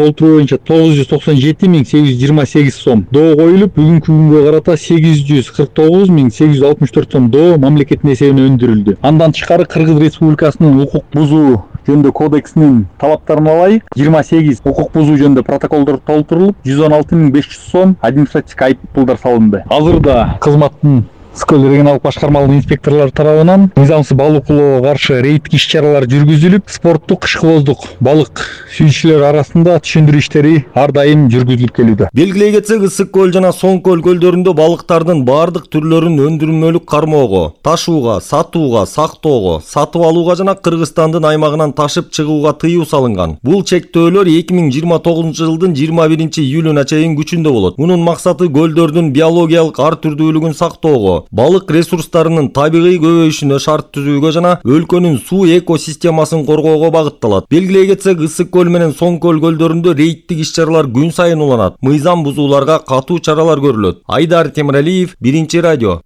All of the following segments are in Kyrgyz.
толтуруу боюнча 997.828 сом доо коюлуп, бүгүнкү күнгө карата 849.864 сом доо мамлекеттин эсебине өндүрүлдү. Андан тышкары Кыргыз Республикасынын укук бузуу жөнүндө кодексинин талаптарына ылайык 28 укук бузуу жөнүндө протоколдор толтурулуп, 116.500 сом административдик айып пулдар салынды. Азырда кызматтын Скөл регионалдык башкармалык инспекторлор тарабынан мыйзамсыз балык уулоого каршы рейдтик иш-чаралар жүргүзүлүп, спорттук ышкыбоздук балык сүйүүчүлөр арасында түшүндүрүү иштери ар дайым жүргүзүлүп келүүдө. Белгилей кетсек, Ысык көл жана Соң көл көлдөрүндө балыктардын баардык түрлөрүн өндүрмөлүк кармоого, ташууга, сатууга, сактоого, сатып алууга жана Кыргызстандын аймагынан ташып чыгууга тыюу салынган. Бул чектөөлөр 2029 жылдын 21 июлуна чейин күчүндө болот. Мунун максаты көлдөрдүн биологиялык ар түрдүүлүгүн сактоого, балык ресурстарынын табигый көбөйүшүнө шарт түзүүгө жана өлкөнүн суу экосистемасын коргоого багытталат. Белгилей кетсек, Ысык көл менен Соң көл көлдөрүндө рейдтик иш-чаралар күн сайын уланат. Мыйзам бузууларга катуу чаралар көрүлөт. Айдар Темиралиев, Биринчи радио.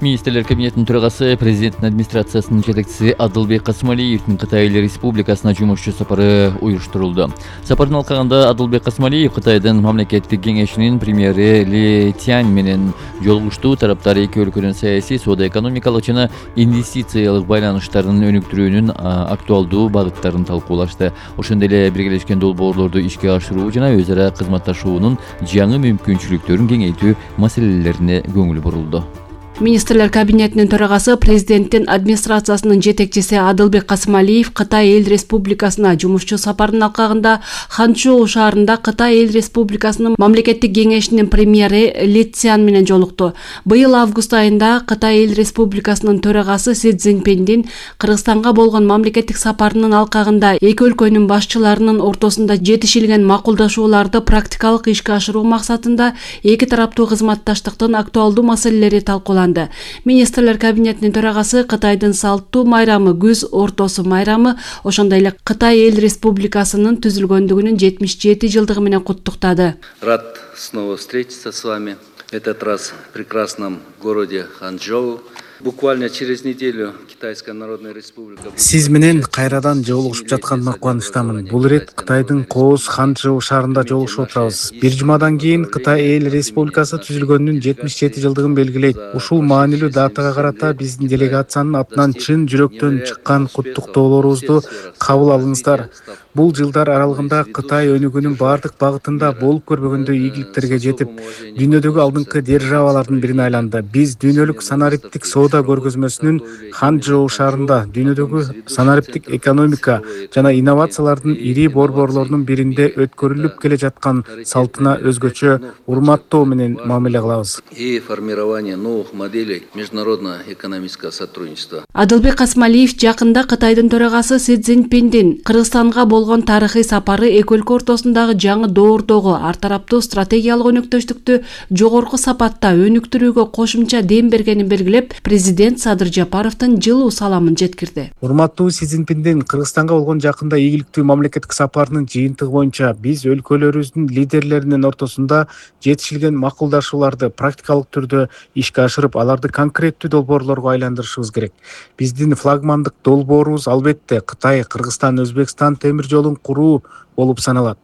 Министрлер кабинетинин төрагасы, президенттин администрациясынын жетекчиси Адылбек Касымалиевдин Кытай Эл Республикасына жумушчу сапары уюштурулду. Сапардын алкагында Адылбек Касымалиев Кытайдын мамлекеттик кеңешинин премьери Ли Тянь менен жолугушту. Тараптар эки өлкөнүн саясий, соода-экономикалык жана инвестициялык байланыштарын өнүктүрүүнүн актуалдуу багыттарын талкуулашты. Ошондой эле биргелешкен долбоорлорду ишке ашыруу жана өз ара кызматташуунун жаңы мүмкүнчүлүктөрүн кеңейтүү маселелерине көңүл бурулду. Министрлер кабинетинин төрагасы, президенттин администрациясынын жетекчиси Адылбек Касымалиев Кытай Эл Республикасына жумушчу сапарынын алкагында Ханчжоу шаарында Кытай Эл Республикасынын мамлекеттик кеңешинин премьери Ли Цзян менен жолукту. Быйыл август айында Кытай Эл Республикасынын төрагасы Си Цзиньпиндин Кыргызстанга болгон мамлекеттик сапарынын алкагында эки өлкөнүн башчыларынын ортосунда жетишилген макулдашууларды практикалык ишке ашыруу максатында эки тараптуу кызматташтыктын актуалдуу маселелери талкууланды. Министрлер кабинетинин төрагасы Кытайдын салттуу майрамы күз ортосу майрамы, ошондой эле Кытай Эл Республикасынын түзүлгөндүгүнүн 77 жылдыгы менен куттуктады. Рад снова встретиться с вами. Этот раз в прекрасном городе Ханчжоу. Буквально через неделю Китайская Народная Республика. Сиз менен кайрадан жолугушуп жатканыма кубанычтамын. Бул ирет Кытайдын Кооз Ханчжоу шаарында жолугушуп отурабыз. Бир жумадан кийин Кытай Эл Республикасы түзүлгөнүнүн 77 жылдыгын белгилейт. Ушул маанилүү датага карата биздин делегациянын атынан чын жүрөктөн чыккан куттуктоолорубузду кабыл алыңыздар. Бул жылдар аралыгында Кытай өнүгүүнүн бардык багытында болуп көрбөгөндөй ийгиликтерге жетип, дүйнөдөгү алдыңкы державалардын бирине айланды. Биз дүйнөлүк санариптик соода көргөзмөсүнүн Ханчжоу шаарында дүйнөдөгү санариптик экономика жана инновациялардын ири борборлорунун биринде өткөрүлүп келе жаткан салтына өзгөчө урматтоо менен мамиле кылабыз. И формирование новых моделей международно-экономического сотрудничества. Адылбек Касымалиев жакында Кытайдын төрагасы Си Цзиньпиндин Кыргызстанга болгон тарыхый сапары эки өлкө ортосундагы жаңы доордогу ар тараптуу стратегиялык өнөктөштүктү жогорку сапатта өнүктүрүүгө кошумча дем бергенин белгилеп, президент Садыр Жапаровдун жылуу саламын жеткирди. Урматтуу Си Цзиньпиндин Кыргызстанга болгон жакында ийгиликтүү мамлекеттик сапарынын жыйынтыгы боюнча биз өлкөлөрүбүздүн лидерлеринин ортосунда жетишилген макулдашууларды практикалык түрдө ишке ашырып, аларды конкреттүү долбоорлорго айландырышыбыз керек. Биздин флагмандык долбоорубуз албетте Кытай, Кыргызстан, Өзбекстан темир жолун куруу болуп саналат.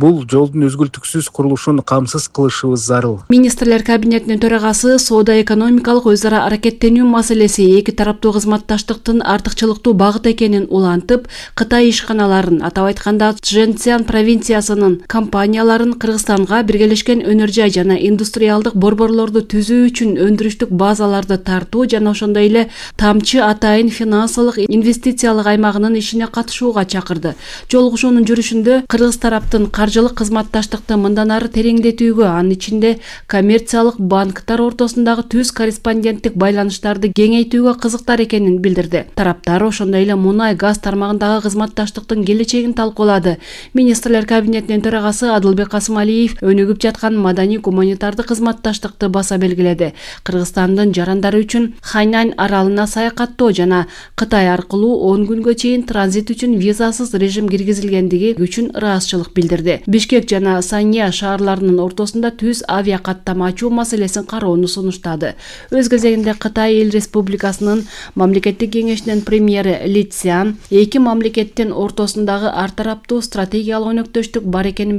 Бул жолдун үзгүлтүксүз курулушун камсыз кылышыбыз зарыл. Министрлер кабинетинин төрагасы соода-экономикалык өз ара аракеттенүү маселеси эки тараптуу кызматташтыктын артыкчылыктуу багыт экенин улантып, Кытай ишканаларын, атап айтканда Чжэнцзян провинциясынын компанияларын Кыргызстанга биргелешкен өнөр жай жана индустриалдык борборлорду түзүү үчүн өндүрүштүк базаларды тартуу жана ошондой эле тамчы атайын финансылык инвестициялык аймагынын ишине катышууга чакырды. Жолугушуунун жүрүшүндө Кыргыз тараптын каржылык кызматташтыкты мындан ары тереңдетүүгө, анын ичинде коммерциялык банктар ортосундагы түз корреспонденттик байланыштарды кеңейтүүгө кызыктар экенин билдирди. Тараптар ошондой эле мунай газ тармагындагы кызматташтыктын келечегин талкуулады. Министрлер кабинетинин төрагасы Адылбек Касымалиев өнүгүп жаткан маданий гуманитардык кызматташтыкты баса белгиледи. Кыргызстандын жарандары үчүн Хайнань аралына саякаттоо жана Кытай аркылуу 10 күнгө чейин транзит үчүн визасыз режим киргизилгендиги күчү үчүн ыраазычылык билдирди. Бишкек жана Санья шаарларынын ортосунда түз авиа каттама ачуу маселесин кароону сунуштады. Өз кезегинде Кытай Эл Республикасынын мамлекеттик кеңешинин премьери Ли Цзян эки мамлекеттин ортосундагы ар тараптуу стратегиялык өнөктөштүк бар экенин